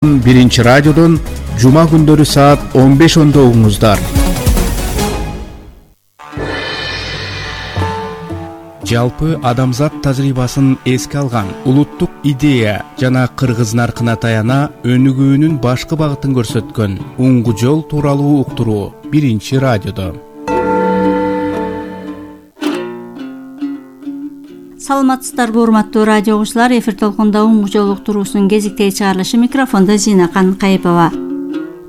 Биринчи радиодон жума күндөрү саат 15:10 угуңуздар. Жалпы адамзат тажрыйбасын эске алган улуттук идея жана кыргыз наркына таяна өнүгүүнүн башкы багытын көрсөткөн уңгу жол тууралуу уктуруу Биринчи радиодо. Саламатсыздарбы, урматтуу радио угуучулар, эфир толкунда уңгу жол уктуруусунун кезиктеги чыгарылышы, микрофондо Зинакан Кайыпова.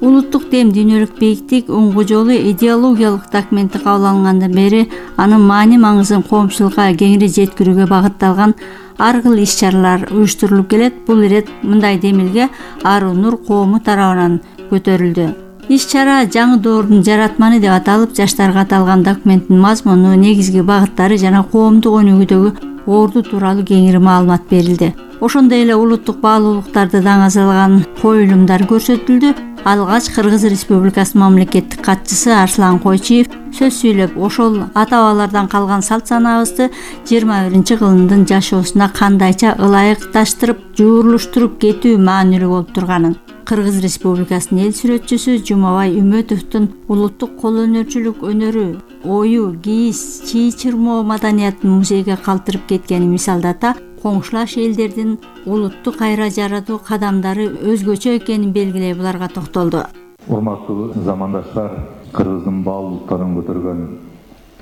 Улуттук дем, дүйнөлүк бийиктик, уңгу жолу идеологиялык документи кабыл алынгандан бери анын маани маңызын коомчулукка кеңири жеткирүүгө багытталган ар кыл иш-чаралар уюштурулуп келет. Бул ирет мындай демилге Аруу Нур коому тарабынан көтөрүлдү. Иш-чара жаңы доордун жаратманы деп аталып, жаштарга аталган документтин мазмуну, негизги багыттары жана коомдук өнүгүүдөгү орду тууралуу кеңири маалымат берилди. Ошондой эле улуттук баалуулуктарды даңазалаган коюлумдар көрсөтүлдү. Алгач Кыргыз Республикасынын мамлекеттик катчысы Арслан Койчиев сөз сүйлөп, ошол ата-бабалардан калган салт санаабызды 21-кылымдын жашоосуна кандайча ылайыкташтырып, жуурулуштуруп кетүү маанилүү болуп турганын, Кыргыз Республикасынын эл сүрөтчүсү Жумабай Үмөтовдун улуттук кол өнөрчүлүк өнөрү, ою, кийиз, чий чырмоо маданиятын музейге калтырып кеткенин мисалдата, коңшулаш элдердин улутту кайра жаратуу кадамдары өзгөчө экенин белгилей буларга токтолду. Урматтуу замандаштар, Кыргыздын баалуулуктарын көтөргөн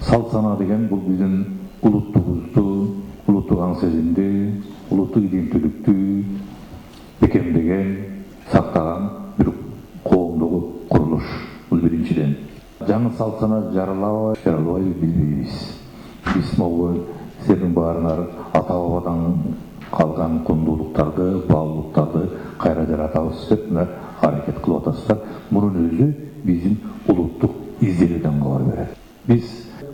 салт санаа деген бул биздин улуттугубузду, улуттук аң сезимди, улуттук иденттүүлүктү бекемдеген, сактаган бир коомдук курулуш. Бул биринчиден. Жаңы салт санаа жаралабай билбейбиз. Биз могу силердин баарыңар ата-бабадан калган кундуулуктарды, баалуулуктарды кайра жаратабыз деп аракет кылып атасыздар. Мунун өзү биздин улуттук изделүүдөн кабар берет. Биз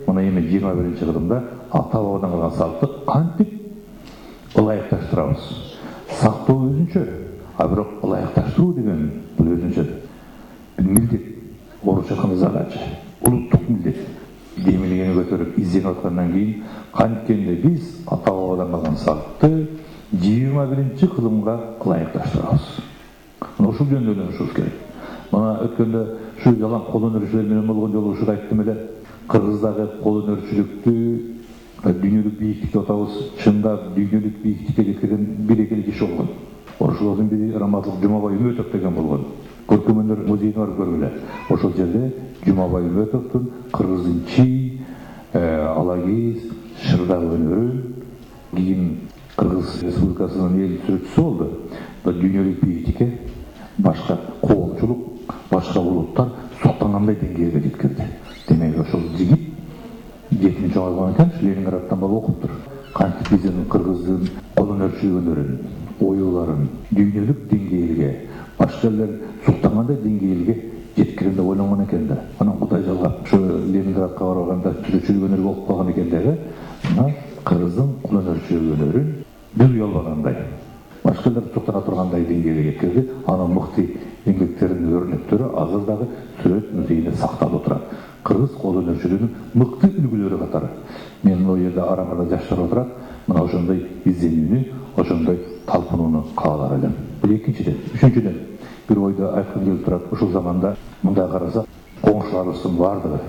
мына эми 21-кылымда ата-бабадан калган салтты кантип ылайыкташтырабыз? Сактоо өзүнчө, а бирок ылайыкташтыруу деген бул өзүнчө милдет, орусча айтканда задача, улуттук милдет. Демилгени көтөрүп изденип аткандан кийин канткенде биз ата-бабадан калган салтты 21-кылымга ылайыкташтырабыз. Мына ушул жөнүндө ойлонушубуз керек. Мына өткөндө ушу жалаң кол өнөрчүлөр менен болгон жолу ушул айттым эле. Кыргыздагы кол өнөрчүлүктү дүйнөлүк бийиктик деп атабыз. Чындап дүйнөлүк бийиктикке жеткен бир эки киши болгон. Ошолордун бири Рамазан Жумабай Үмөтов деген болгон. Көркөм өнөр музейине барып көргүлө. Ошол жерде Жумабай Үмөтовдун Кыргыздын чий, алагиз, шырдак өнөрү, кийин Кыргыз Республикасынын эл сүрөтчүсү болду. Дүйнөлүк бийиктикке башка коомчулук, башка улуттар суктангандай деңгээлге жеткирди. Демек ошол жигит 7-чоң алган экен, Ленинградтан барып окуптур. Кантип биздин Кыргыздын кол өнөрчүлүк өнөрүн, оюларын дүйнөлүк деңгээлге, башка элдер суктангандай деңгээлге жеткирем деп ойлонгон экен да. Анан Кудай жалгап, ошо Ленинградка барганда сүрөтчүлүк өнөрү окуп калган экен дагы. Мына Кыргыздын кол өнөрчүлүк өнөрүн бир уялбагандай, башка элдер суктана тургандай деңгээлге жеткирди. Анын мыкты эмгектеринин өрнөктөрү азыр дагы сүрөт музейинде сакталып турат. Кыргыз кол өнөрчүлүгүнүн мыкты үлгүлөрү катары. Мен бул жерде арамда жаштар отурат. Мына ошондой изденүүнү, ошондой талпынууну каалар элем. Бул экинчиден. Үчүнчүдөн бир ойду айткым келип турат. Ушул заманда мындай караса, коңшуларыбыздын баардыгы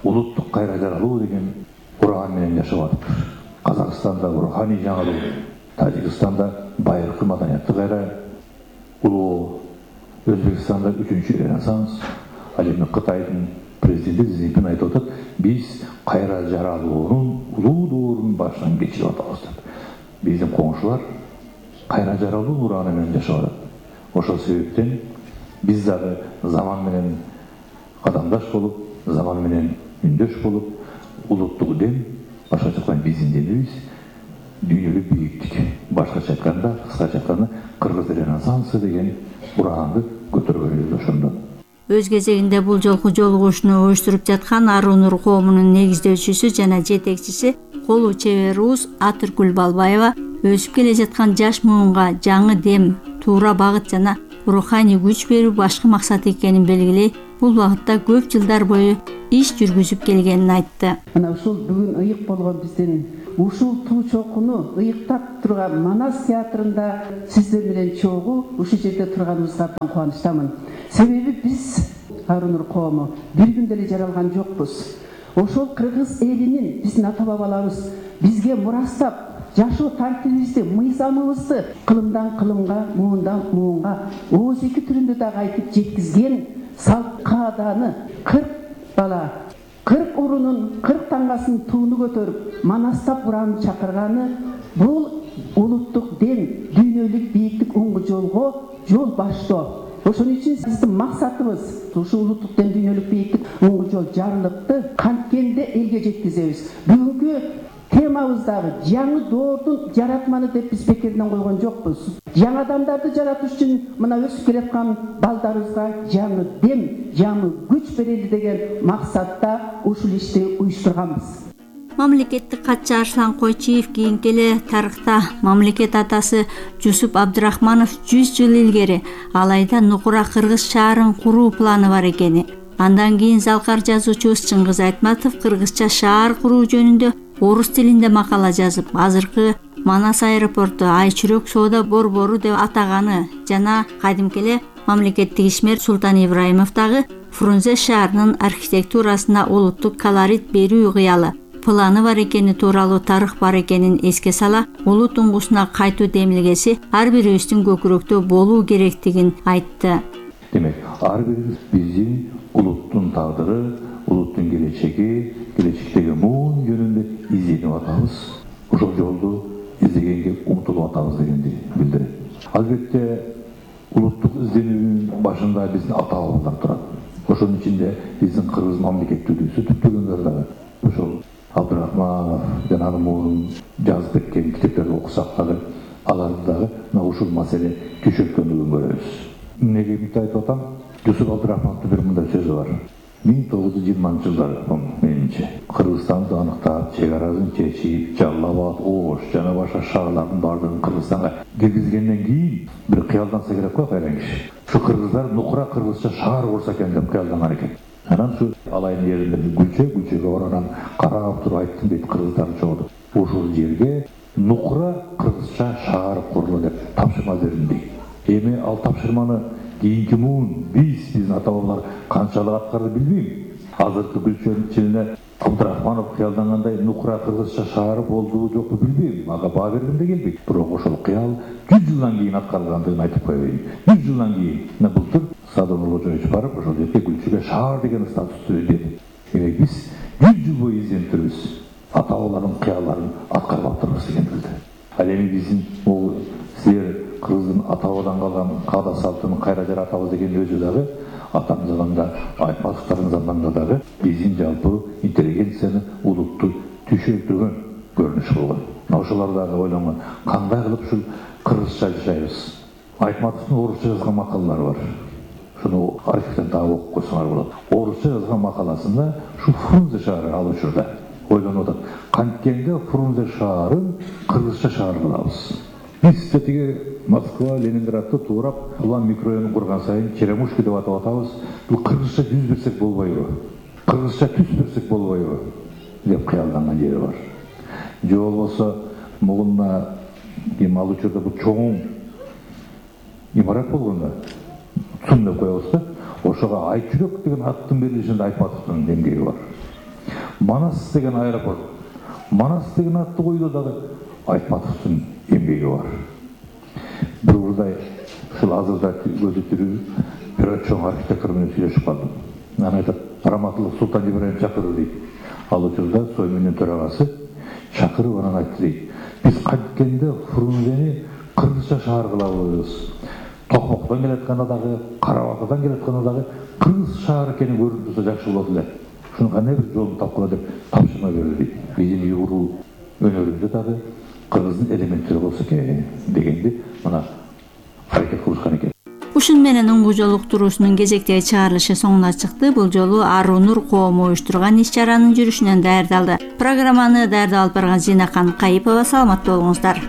улуттук кайра жаралуу деген уран менен жашап атыптыр. Казакстанда руханий жаңылуу, Тажикстанда байыркы маданиятты кайра улоо, Өзбекстанда 3-чү ренессанс, ал эми Кытайдын президенти Си Цзиньпин айтып атат, биз кайра жаралуунун улуу доорун башынан кечирип атабыз деп. Биздин коңшулар кайра жаралуу ураны менен жашап атат. Ошол себептен биз дагы заман менен кадамдаш болуп, заман менен үндөш болуп, улуттук дем, башкача айтканда биздин демибиз дүйнөлүк бийиктик. Башкача айтканда, кыскача айтканда Кыргыз ренессансы деген ураанды көтөргөнүбүз ошондо. Өз кезегинде бул жолку жолугушууну уюштуруп жаткан Аруу Нур коомунун негиздөөчүсү жана жетекчиси колу чебер уус Атыркүл Балбаева өсүп келе жаткан жаш муунга жаңы дем, туура багыт жана руханий күч берүү башкы максат экенин белгилей, бул багытта көп жылдар бою иш жүргүзүп келгенин айтты. Мына ушул бүгүн ыйык болгон биздин ушул туу чокуну ыйыктап турган Манас театрында сиздер менен чогуу ушул жерде турганыбызга абдан кубанычтамын. Себеби биз Арунур коому бир күндө эле жаралган жокпуз. Ошол кыргыз элинин биздин ата бабаларыбыз бизге мурастап жашоо тартибибизди, мыйзамыбызды кылымдан кылымга, муундан муунга ооз эки түрүндө дагы айтып жеткизген салт кааданы 40 бала 40 урунун 40 таңгасын тууну көтөрүп Манастап буранып чакырганы бул улуттук дем, дүйнөлүк бийиктик уңгу жолго жол баштоо. Ошон үчүн биздин максатыбыз ушул улуттук дем, дүйнөлүк бийиктик уңгу жол жарлыкты канткенде элге жеткизебиз. Бүгүнкү темабыз дагы жаңы доордун жаратманы деп биз бекерден койгон жокпуз. Жаңы адамдарды жаратыш үчүн мына өсүп келаткан балдарыбызга жаңы дем, жаңы күч берели деген максатта ушул ишти уюштурганбыз. Мамлекеттик катчы Арслан Койчиев кийинки эле тарыхта мамлекет атасы Жусуп Абдрахманов 100 жыл илгери алайда Нукура кыргыз шаарын куруу планы бар экени. Андан кийин залкар жазуучубуз Чыңгыз Айтматов кыргызча шаар куруу жөнүндө орус тилинде макала жазып, азыркы Манас аэропорту Айчүрөк соода борбору деп атаганы жана кадимки эле мамлекеттик ишмер Султан Ибраимов дагы Фрунзе шаарынын архитектурасына улуттук колорит берүү кыялы планы бар экени тууралуу тарых бар экенин эске сала, улут уңгусуна кайтуу демилгеси ар бирибиздин көкүрөктө болуу керектигин айтты. Демек, ар бирибиз биздин улуттун тагдыры, улуттун келечеги, келечектеги муун жөнүндө изденип атабыз. Ошол жолду издегенге умтулуп атабыз дегенди билдирет. Албетте, улуттук изденүүнүн башында биздин ата бабалар турат. Ошонун ичинде биздин кыргыз мамлекеттүүлүгү түптөгөндөр дагы ошол Абдрахманов жана анын муунун жазып кеткен китептерди окусак дагы аларды дагы мына ушул маселе түшүрткөндүгүн көрөбүз. Эмнеге мынтип айтып атам? Жусуп Абдрахмановдун бир мындай сөзү бар. 1920-жылдар менимче Кыргызстанды аныктап, чек арасын чечип, Жалал-Абад, Ош жана башка шаарлардын бардыгын Кыргызстанга киргизгенден кийин бир кыялданса керек го кайран киши. Ушу кыргыздар Нукура кыргызча шаар курса экен деп кыялданган экен. Анан ушу алайын жеринде күлчөгө баранан карап туруп айттым дейт кыргыздар чогуу. Ушул жерге Нукура кыргызча шаар курулу деп тапшырма бердим дейт. Эми ал тапшырманы кийинки муун биздин ата бабалар канчалык аткарды билбейм. Азыркы күлчөнүн ичинде Абдрахманов кыялдангандай Нукура кыргызча шаары болдубу жокпу билбейм. Ага баа бергим да келбейт. Бирок ошол кыял 100 жылдан кийин аткарылгандыгын айтып коеюн. 100 жылдан кийин былтыр Садыр Ожоевич барып ошол жерге Күлчөгө шаар деген статусту берди. Демек биз 100 жыл бою изденип турбуз. Ата бабалардын кыялларын аткарып атырбыз деген билди. Ал эми биздин бул силер кыргыздын ата бабадан калган каада салтын кайра жаратабыз деген өзү дагы атам заманда, Айтматовдун заманында дагы биздин жалпы интеллигенцияны, улутту түшүртүргөн көрүнүш болгон. Ошолор дагы ойлонгон, кандай кылып ушул кыргызча жашайбыз. Айтматовдун орусча жазган макалалары бар. Шуну архивден дагы окуп койсоңор болот. Орусча жазган макаласында ушу Фрунзе шаары ал учурда ойлонуп атат. Канткенде Фрунзе шаарын кыргызча шаар кылабыз. Биз тиги Москва, Ленинградты туурап, улам микрорайон курган сайын Черемушки деп атап атабыз. Бул кыргызча жүз берсек болбойбу? Кыргызча түс берсек болбойбу? деп кыялданган жери бар. Же болбосо мугунда ал учурда бул чоң имарат болгондо Цум деп коебуз да. Ошого Айчүрөк деген аттын берилишинде Айтматовдун эмгеги бар. Манас деген аэропорт. Манас деген атты коюуда дагы Айтматовдун эмгеги бар. Бир урдай ушул азырда көзү тирүү бир чоң архитектор менен сүйлөшүп калдым. Анан айтат, Раматылык Султан Ибраим чакырды дейт. Ал учурда Соймендин төрагасы чакырып анан айтты дейт. Биз канткенде Фрунзени кыргызча шаар кылабыз. Токмоктон келатканда дагы, Карабатадан келатканда дагы кыргыз шаар экени көрүнүп турса жакшы болот эле. Шуну кандай бир жолун тапкыла деп тапшырма берди дейт. Биздин уйгур өнөрүндө дагы кыргыздын элементтери болсо экен дегенди мына аракет кылышкан экен. Ушун менен уңгу жол уктуруусунун кезектеги чыгарылышы соңуна чыкты. Бул жолу Арунур коому уюштурган иш-чаранын жүрүшүнөн даярдалды. Программаны даярдап алып барган Зинакан Кайыпова. Саламат болуңуздар.